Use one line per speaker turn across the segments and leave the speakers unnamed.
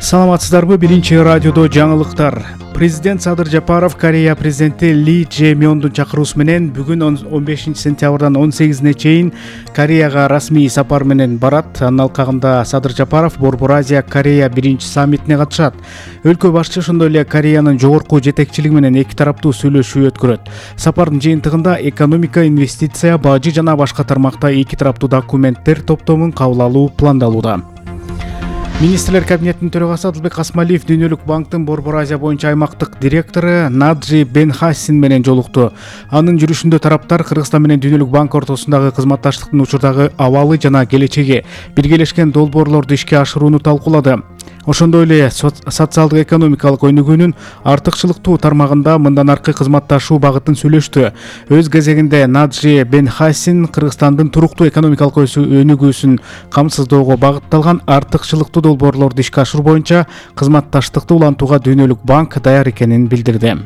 Саламатсыздарбы? Биринчи радиодо жаңылыктар. Президент Садыр Жапаров Корея президенти Ли Чже Мёндун чакыруусу менен бүгүн 15 сентябрдан 18-не чейин Кореяга расмий сапар менен барат. Анын алкагында Садыр Жапаров Борбор Азия Корея биринчи саммитине катышат. Өлкө башчы ошондой эле Кореянын жогорку жетекчилиги менен эки тараптуу сүйлөшүү өткөрөт. Сапардын жыйынтыгында экономика, инвестиция, бажы жана башка тармакта эки тараптуу документтер топтомун кабыл алуу пландалууда. Министрлер кабинетинин төрагасы Адылбек Асмалиев Дүйнөлүк банктын Борбор Азия боюнча аймактык директору Наджи Бенхасин менен жолукту. Анын жүрүшүндө тараптар Кыргызстан менен Дүйнөлүк банк ортосундагы кызматташтыктын учурдагы абалы жана келечеги, биргелешкен долбоорлорду ишке ашырууну талкуулады. Ошондой эле социалдык экономикалык өнүгүүнүн артыкчылыктуу тармагында мындан аркы кызматташуу багытын сүйлөштү. Өз кезегинде Наджи Бенхасин Кыргызстандын туруктуу экономикалык өнүгүүсүн камсыздоого багытталган артыкчылыктуу долбоорлорду ишке ашыруу боюнча кызматташтыкты улантууга Дүйнөлүк банк даяр экенин билдирди.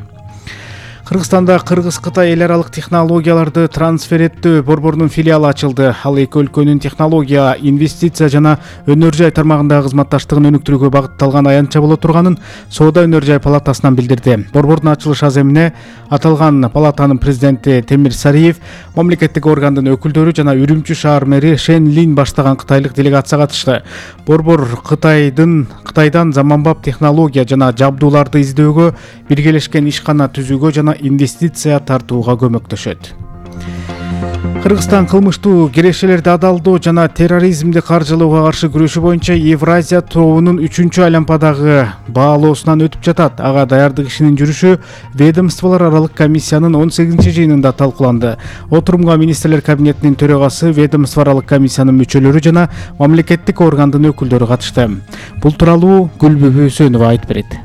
Кыргызстанда Кыргыз-Кытай эл аралык технологияларды трансфер борборунун филиалы ачылды. Ал эки өлкөнүн технология, инвестиция жана өнөр жай тармагындагы кызматташтыгын өнүктүрүүгө багытталган аянтча боло турганын Соода өнөр жай палатасынан билдирди. Борбордун ачылыш аземине аталган палатанын президенти Темир Сариев, мамлекеттик органдын өкүлдөрү жана Үрүмчү шаар мэри Шен Лин баштаган кытайлык делегация катышты. Борбор Кытайдан заманбап технология жана жабдууларды издөөгө, биргелешкен ишкана түзүүгө жана инвестиция тартууга көмөктөшөт. Кыргызстан кылмыштуу кирешелерди адалдоо жана терроризмди каржылоого каршы күрөшүү боюнча Евразия тобунун 3-чү айланпадагы баалоосунан өтүп жатат. Ага даярдык ишинин жүрүшү ведомстволор аралык комиссиянын 18-жыйынында талкууланды. Отурумга министрлер кабинетинин төрагасы, ведомство аралык комиссиянын мүчөлөрү жана мамлекеттик органдын өкүлдөрү катышты. Бул тууралуу Гүлбүбү Өсөнова айтып берет.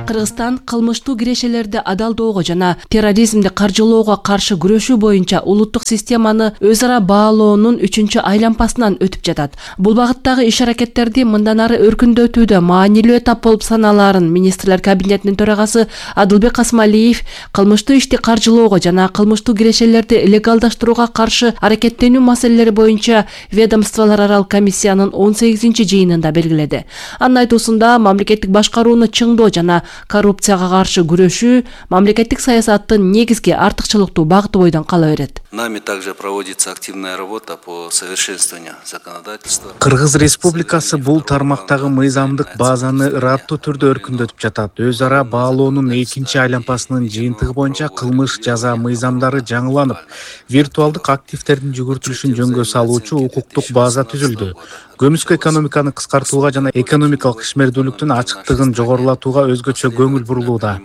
Кыргызстан кылмыштуу кирешелерди адалдоого жана терроризмди каржылоого каршы күрөшүү боюнча улуттук системаны өз ара баалоонун 3-чү айланпасынан өтүп жатат. Бул багыттагы иш-аракеттерди мындан ары өркүндөтүүдө маанилүү этап болуп саналаарын министрлер кабинетинин төрагасы Адылбек Асмалиев кылмыштуу ишти каржылоого жана кылмыштуу кирешелерди легалдаштырууга каршы аракеттенүү маселелери боюнча ведомстволор аралык комиссиянын 18-жыйынында белгиледи. Анын айтуусунда мамлекеттик башкарууну чыңдоо жана коррупцияга каршы күрөшүү мамлекеттик саясаттын негизги артыкчылыктуу багыты бойдон кала берет.
Нами также проводится активная работа по совершенствованию законодательства.
Кыргыз Республикасы бул тармактагы мыйзамдык базаны ыраттуу түрдө өркүндөтүп жатат. Өз ара баалоонун 2-чи айланпасынын жыйынтыгы боюнча кылмыш жаза мыйзамдары жаңыланып, виртуалдык активдердин жүгүртүлүшүн жөнгө салуучу укуктук база түзүлдү. Көмүскө экономиканы кыскартууга жана экономикалык ишмердүүлүктүн ачыктыгын жогорулатууга өзгөчө көңүл бурулууда.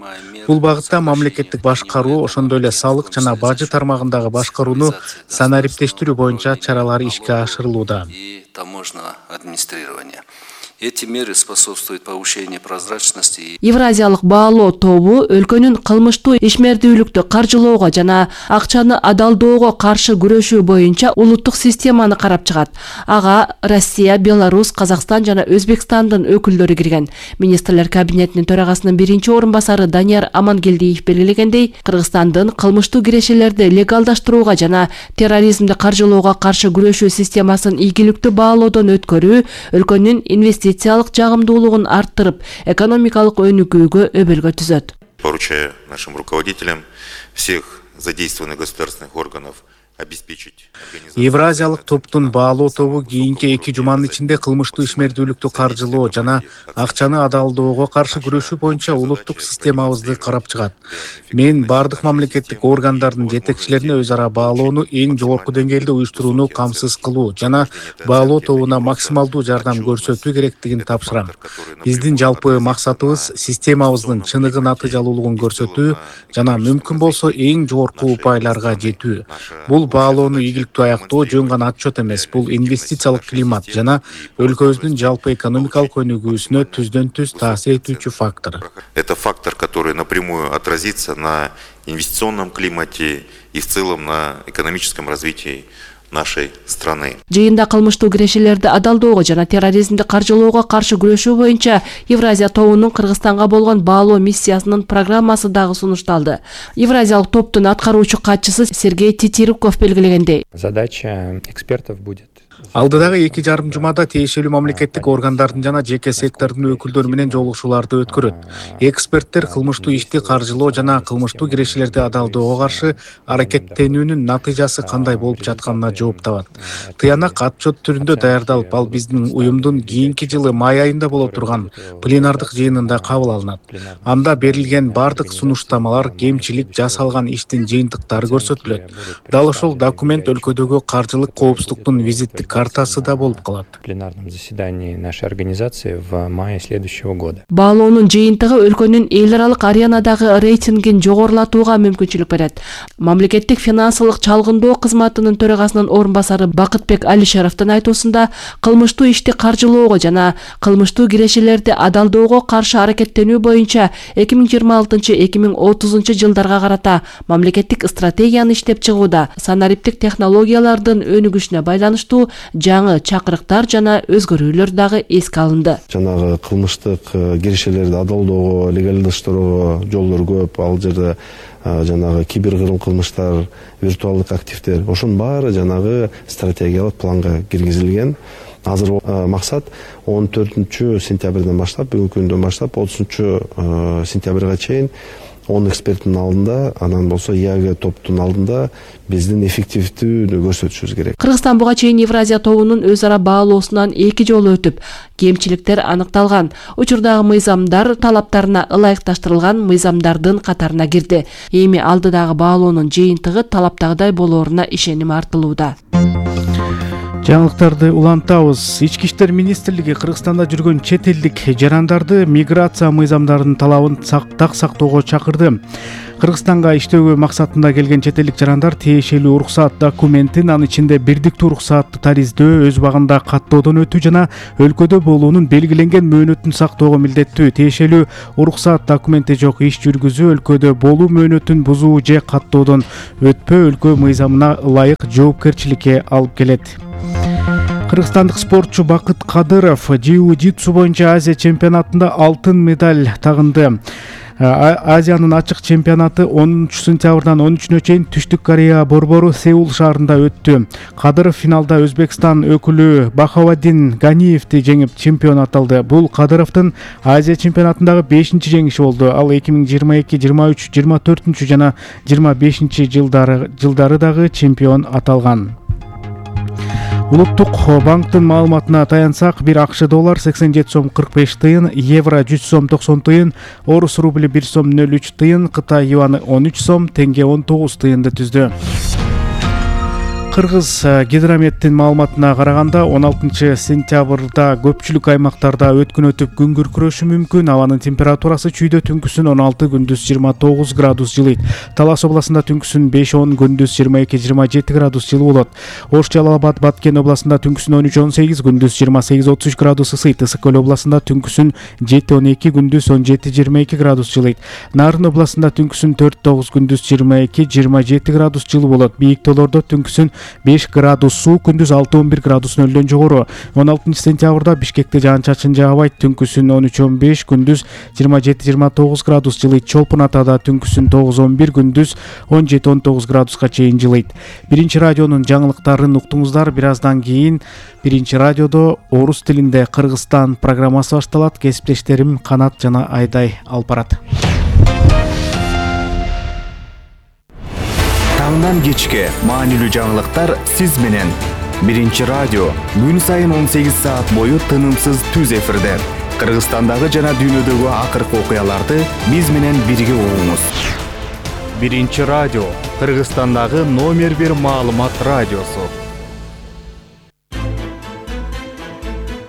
Бул багытта мамлекеттик башкаруу, ошондой эле салык жана бажы тармагындагы башкарууну санариптештирүү боюнча чаралар ишке ашырылууда.
Таможенного администрирования. Эти меры способствуют повышению прозрачности.
Евразиялык баалоо тобу өлкөнүн кылмыштуу ишмердүүлүктү каржылоого жана акчаны адалдоого каршы күрөшүү боюнча улуттук системаны карап чыгат. Ага Россия, Беларусь, Казакстан жана Өзбекстандын өкүлдөрү кирген. Министрлер кабинетинин төрагасынын биринчи орун басары Данияр Амангелдиев белгилегендей, Кыргызстандын кылмыштуу кирешелерди легалдаштырууга жана терроризмди каржылоого каршы күрөшүү системасын ийгиликтүү баалоодон өткөрүү өлкөнүн инвестициялык жагымдуулугун арттырып, экономикалык өнүгүүгө өбөлгө түзөт.
Поручаю нашим руководителям всех задействованных государственных органов обеспечить.
Евразиялык топтун баалоо тобу кийинки 2 жуманын ичинде кылмыштуу ишмердүүлүктү каржылоо жана акчаны адалдоого каршы күрөшүү боюнча улуттук системабызды карап чыгат. Мен бардык мамлекеттик органдардын жетекчилерине өз ара баалоону эң жогорку деңгээлде уюштурууну камсыз кылуу жана баалоо тобуна максималдуу жардам көрсөтүү керектигин тапшырам. Биздин жалпы максатыбыз системабыздын чыныгы натыйжалуулугун көрсөтүү жана мүмкүн болсо эң жогорку упайларга жетүү. Бул баалоону ийгиликтүү аяктоо жөн гана отчет эмес, бул инвестициялык климат жана өлкөбүздүн жалпы экономикалык өнүгүүсүнө түздөн-түз таасир этүүчү фактор.
Это фактор, который напрямую отразится на инвестиционном климате и в целом на экономическом развитии нашей страны.
Жыйында кылмыштуу кирешелерди адалдоого жана терроризмди каржылоого каршы күрөшүү боюнча Евразия тобунун Кыргызстанга болгон баалоо миссиясынын программасы дагы сунушталды. Евразиялык топтун аткаруучу катчысы Сергей Титирков белгилегендей,
задача экспертов будет
Алдыдагы 2,5 жумада тиешелүү мамлекеттик органдардын жана жеке сектордун өкүлдөрү менен жолугушууларды өткөрөт. Эксперттер кылмыштуу ишти каржылоо жана кылмыштуу кирешелерди адалдоого каршы аракеттенүүнүн натыйжасы кандай болуп жатканына жооп табат. Тыянак отчет түрүндө даярдалып, ал биздин уюмдун кийинки жылы май айында боло турган пленардык жыйынында кабыл алынат. Анда берилген бардык сунуштамалар, кемчилик жасалган иштин жыйынтыктары көрсөтүлөт. Дал ошол документ өлкөдөгү каржылык коопсуздуктун визиттик картасы да болуп калат.
В пленарном заседании нашей организации в мае следующего года.
Баалоонун жыйынтыгы өлкөнүн эл аралык аренадагы рейтингин жогорулатууга мүмкүнчүлүк берет. Мамлекеттик финансылык чалгындоо кызматынын төрагасынын орун басары Бакытбек Алишеровдун айтуусунда, кылмыштуу ишти каржылоого жана кылмыштуу кирешелерди адалдоого каршы аракеттенүү боюнча 2026-2030 жылдарга карата мамлекеттик стратегияны иштеп чыгууда санариптик технологиялардын өнүгүшүнө байланыштуу жаңы чакырыктар жана өзгөрүүлөр дагы эске алынды.
Жанагы кылмыштык кирешелерди адалдоого, легалдаштырууга жолдор көп. Ал жерде жанагы киберкырым кылмыштар, виртуалдык активдер, ошонун баары жанагы стратегиялык планга киргизилген. Азыр максат 14 сентябрдан баштап, бүгүнкү күндөн баштап 30 сентябрга чейин 10 эксперттин алдында, анан болсо ИАГ топтун алдында биздин эффективдүүлүктү көрсөтүшүбүз керек.
Кыргызстан буга чейин Евразия тобунун өз ара баалоосунан 2 жолу өтүп, кемчиликтер аныкталган. Учурдагы мыйзамдар талаптарына ылайыкташтырылган мыйзамдардын катарына кирди. Эми алдыдагы баалоонун жыйынтыгы талаптагыдай болооруна ишеним артылууда.
Жаңылыктарды улантабыз. Ички иштер министрлиги Кыргызстанда жүргөн чет элдик жарандарды миграция мыйзамдарынын талабын так сактоого чакырды. Кыргызстанга иштөөгө максатында келген чет элдик жарандар тиешелүү уруксаат документин, анын ичинде бирдиктүү уруксаатты тариздөө, өз убагында каттоодон өтүү жана өлкөдө болуунун белгиленген мөөнөтүн сактоого милдеттүү. Тиешелүү уруксаат документи жок иш жүргүзүү, өлкөдө болуу мөөнөтүн бузуу же каттоодон өтпөө өлкө мыйзамына ылайык жоопкерчиликке алып келет. Кыргызстандык спортчу Бакыт Кадыров jiu-jitsu боюнча Азия чемпионатында алтын медаль тагынды. Азиянын ачык чемпионаты 10 сентябрдан 13-нө чейин Түштүк Корея борбору Сеул шаарында өттү. Кадыров финалда Өзбекстан өкүлү Бахаваддин Ганиевди жеңип чемпион аталды. Бул Кадыровдун Азия чемпионатындагы 5-чи жеңиши болду. Ал 2022, 23, 24 жана 25 жылдары дагы чемпион аталган. Улуттук банктын маалыматына таянсак, бир АКШ доллар 87 сом 45 тыйын, евро 100 сом 90 тыйын, орус рубли 1 сом 03 тыйын, Кытай юаны 13 сом, тенге 19 тыйынды түздү. Кыргыз гидрометтин маалыматына караганда 16 сентябрда көпчүлүк аймактарда өткөн өтүп күн күркүрөшү мүмкүн. Абанын температурасы чүйдө түнкүсүн 16, күндүз 29 градус жылыйт. Талас областында түнкүсүн 5-10, күндүз 22-27 градус жылы болот. Ош, Жалал-Абад, Баткен областында түнкүсүн 13-18, күндүз 28-33 градус ысыйт. Ысык көл областында түнкүсүн 7-12, күндүз 17-22 градус жылыйт. Нарын областында түнкүсүн 4-9, күндүз 22-27 градус жылы болот. Бийик тоолордо түнкүсүн 5 градус суу, күндүз 6-11 градус нөлдөн жогору. 16 сентябрда Бишкекте жаан-чачын жаагбайт, түнкүсүн 13-15, күндүз 27-29 градус жылыйт. Чолпун Атада түнкүсүн 9-11, күндүз 17-19 градуска чейин жылыйт. Биринчи радионун жаңылыктарын уктуңуздар. Бир аздан кийин Биринчи радиодо орус тилинде Кыргызстан программасы башталат. Кесиптештерим Канат жана Айдай алып барат.
Таңдан кечке маанилүү жаңылыктар сиз менен. Биринчи радио күн сайын 18 саат бою тынымсыз түз эфирде. Кыргызстандагы жана дүйнөдөгү акыркы окуяларды биз менен бирге угуңуз. Биринчи радио Кыргызстандагы номер 1 маалымат радиосу.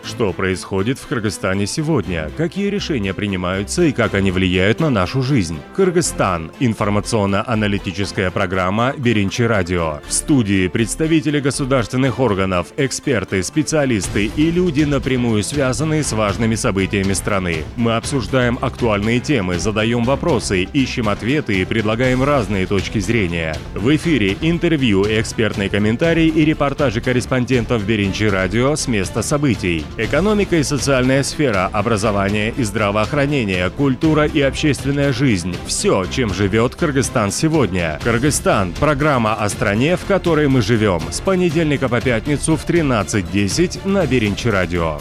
Что происходит в Кыргызстане сегодня? Какие решения принимаются и как они влияют на нашу жизнь? Кыргызстан. Информационно-аналитическая программа «Биринчи радио». В студии представители государственных органов, эксперты, специалисты и люди, напрямую связанные с важными событиями страны. Мы обсуждаем актуальные темы, задаем вопросы, ищем ответы и предлагаем разные точки зрения. В эфире интервью, экспертные комментарии и репортажи корреспондентов «Биринчи радио» с места событий. Экономика и социальная сфера, образование и здравоохранение, культура и общественная жизнь – все, чем живет Кыргызстан сегодня. Кыргызстан – программа о стране, в которой мы живем. С понедельника по пятницу в 13:10 на Беринчи радио.